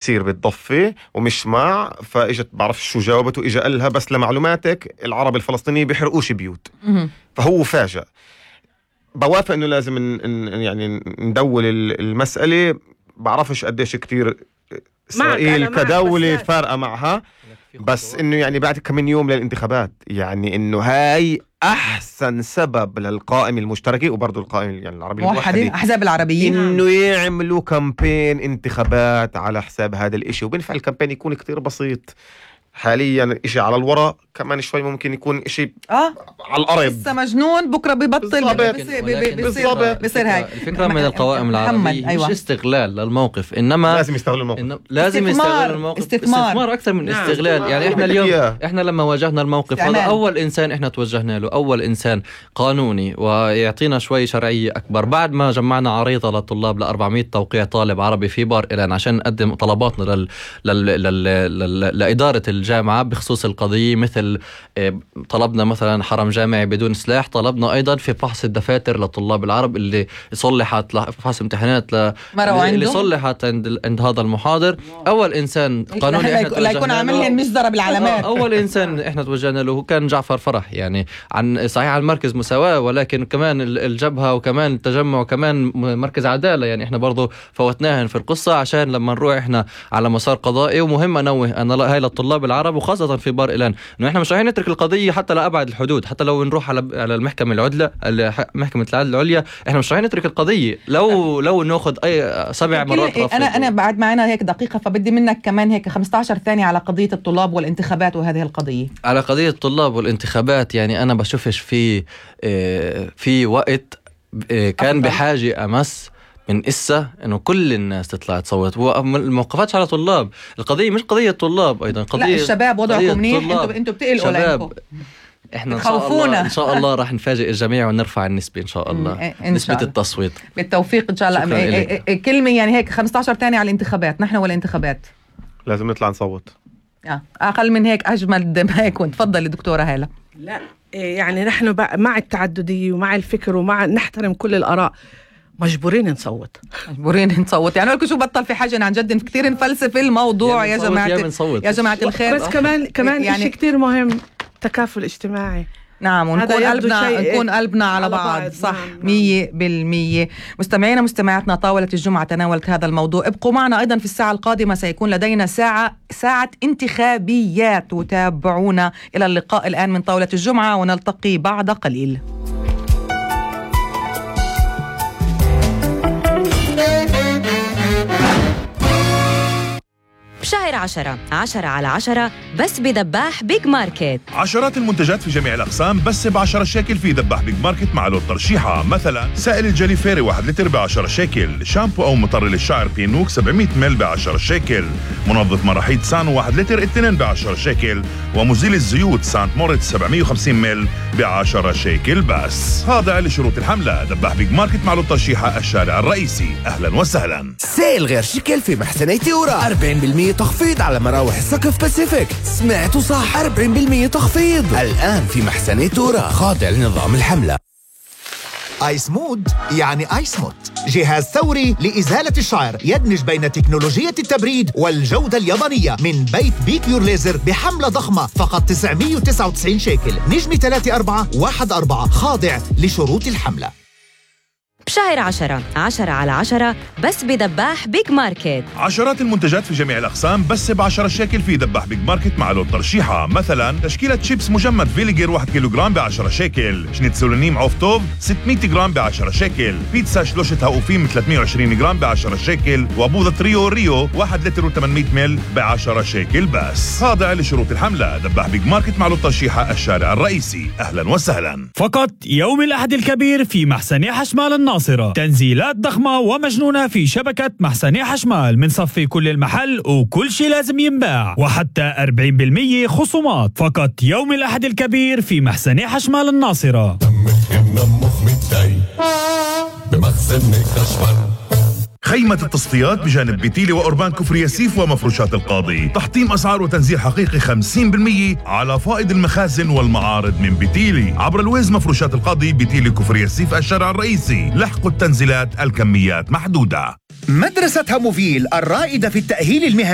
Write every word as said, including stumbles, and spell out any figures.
يصير بتضفي ومش مع، فاجت بعرف شو جاوبته، اجا قالها بس لمعلوماتك العرب الفلسطينيين بيحرقوش بيوت. فهو فاجأ. بوافق انه لازم ن... يعني ندول المسألة. بعرفش قديش كتير إسرائيل كدولة فارقة معها، بس انه يعني بعد كم يوم للانتخابات، يعني انه هاي احسن سبب للقائمة المشتركة وبرضو القائمة يعني العربية موحدين احزاب العربيين انه يعملوا كامبين انتخابات على حساب هذا الاشي. وبنفع الكامبين يكون كتير بصيط حاليا، اشي على الورق، كمان شوي ممكن يكون اشي اه على الارض لسه مجنون بكره ببطل بصير بصير هاي الفكره من القوائم العربيه. أيوة. مش استغلال للموقف، انما لازم يستغلوا الموقف. إنما لازم يستغلوا الموقف. استثمار, استثمار اكثر من نعم. استغلال. يعني احنا اليوم إياه. احنا لما واجهنا الموقف هذا اول انسان احنا توجهنا له، اول انسان قانوني ويعطينا شوي شرعيه اكبر، بعد ما جمعنا عريضه للطلاب ل أربعمية توقيع طالب عربي في بار إيلان عشان نقدم طلباتنا لل... لل... لل... لل... لاداره الجامعة بخصوص القضية. مثل طلبنا مثلا حرم جامعي بدون سلاح، طلبنا أيضا في فحص الدفاتر للطلاب العرب اللي صلحت، فحص امتحانات ل... اللي صلحت عند عند هذا المحاضر. أول إنسان قانوني إحنا لا يكون عاملين مصدر بالعلامات. أول إنسان إحنا توجهنا له كان جعفر فرح، يعني عن صحيح عن مركز مساواة، ولكن كمان الجبهة وكمان التجمع وكمان مركز عدالة، يعني إحنا برضو فوتناهن في القصة عشان لما نروح إحنا على مسار قضائي. ومهم أنوه أن هاي للطلاب العرب وخاصة في بار إيلان إنه إحنا مش رايحين نترك القضية حتى لأبعد الحدود، حتى لو نروح على على المحكمة العدلة محكمة العدل العليا، إحنا مش رايحين نترك القضية لو لو نأخذ أي سبع مرات رفض. أنا أنا بعد معنا هيك دقيقة، فبدي منك كمان هيك خمسة عشر ثانية على قضية الطلاب والانتخابات وهذه القضية. على قضية الطلاب والانتخابات، يعني أنا بشوفش في في وقت كان بحاجة أمس من إسا إنه كل الناس تطلع تصوت. والموقفات على طلاب، القضية مش قضية طلاب أيضا، قضية لا الشباب وضعكم منيح، انتوا انتوا بتقلقوا لكم. احنا ان شاء الله ان شاء الله راح نفاجئ الجميع ونرفع النسبة ان شاء الله، نسبة التصويت بالتوفيق ان شاء الله. كلمة يعني هيك خمسة عشر ثانية على الانتخابات. نحن والانتخابات لازم نطلع نصوت. اه اقل من هيك اجمل ما يكون. تفضلي دكتورة هالة. لا يعني نحن مع التعددية ومع الفكر ومع نحترم كل الآراء، مجبورين نصوت مجبورين نصوت. يعني لكم شو بطل في حاجة عن جد كثير نفلسف الموضوع يا جماعة يا جماعة الخير. بس كمان كمان يعني شيء كثير مهم، تكافل اجتماعي. نعم، ونكون قلبنا نكون قلبنا على, على بعض, بعض. صح مية بالمية. مستمعينا مستمعاتنا، طاولة الجمعة تناولت هذا الموضوع. ابقوا معنا أيضا في الساعة القادمة، سيكون لدينا ساعة ساعة انتخابيات، وتابعونا. إلى اللقاء الآن من طاولة الجمعة، ونلتقي بعد قليل. شهر عشرة عشرة على عشرة بس بدباح بيج ماركت. عشرات المنتجات في جميع الأقسام بس بعشرة شيكل في دباح بيج ماركت مع لون ترشيحة. مثلا سائل الجلي فيري واحد لتر بعشرة شيكل، شامبو أو مطر للشعر بينوك سبعمية مل بعشرة شيكل، منظف مراحيض سانو واحد لتر اثنين بعشرة شيكل، ومزيل الزيوت سانت موريتس سبعمية وخمسين مل بعشرة شيكل بس. خاضع لشروط الحملة. دباح بيج ماركت مع لون ترشيحة الشارع الرئيسي. أهلا وسهلا. سائل غير شكل في محسني تيورا، أربعين بالمية تخفيض على مراوح السقف باسيفيك. سمعتوا صح، أربعين بالمية تخفيض الآن في محسني تورا، خاضع لنظام الحملة. آيس مود يعني آيس موت، جهاز ثوري لإزالة الشعر يدمج بين تكنولوجية التبريد والجودة اليابانية من بيت بيكيور ليزر بحملة ضخمة فقط تسعمية وتسعة وتسعين شيكل. نجمة ثلاثة أربعة واحد أربعة، خاضع لشروط الحملة. بشهر عشرة عشرة على عشرة بس بدباح بيج ماركت. عشرات المنتجات في جميع الأقسام بس بعشرة شيكل في دباح بيج ماركت مع لون ترشيحة. مثلا تشكيلة شيبس مجمد فيليجر واحد كيلوغرام بعشرة شيكل، شنيتسولونيم عوفتوف ستمية جرام بعشرة شيكل، بيتزا شلوشة هاوفيم ثلاثمية وعشرين جرام بعشرة شيكل، وبوظة ريو ريو واحد لتر وثمانمية مل بعشرة شيكل بس. خاضع لشروط الحملة. دباح بيج ماركت مع لون ترشيحة الشارع الرئيسي. أهلا وسهلا. فقط يوم الأحد الكبير في محسني حشمال الناصرة، تنزيلات ضخمة ومجنونة في شبكة محسني حشمال، من صفي كل المحل وكل شيء لازم ينباع، وحتى أربعين بالمية خصومات. فقط يوم الأحد الكبير في محسني حشمال الناصرة. خيمة التصفيات بجانب بيتيلي وأوربان كفر ياسيف ومفروشات القاضي. تحطيم أسعار وتنزيل حقيقي خمسين بالمية على فائض المخازن والمعارض من بيتيلي. عبر الويز مفروشات القاضي، بيتيلي كفر ياسيف الشارع الرئيسي. لحقوا التنزيلات، الكميات محدودة. مدرسة هاموفيل الرائدة في التأهيل المهني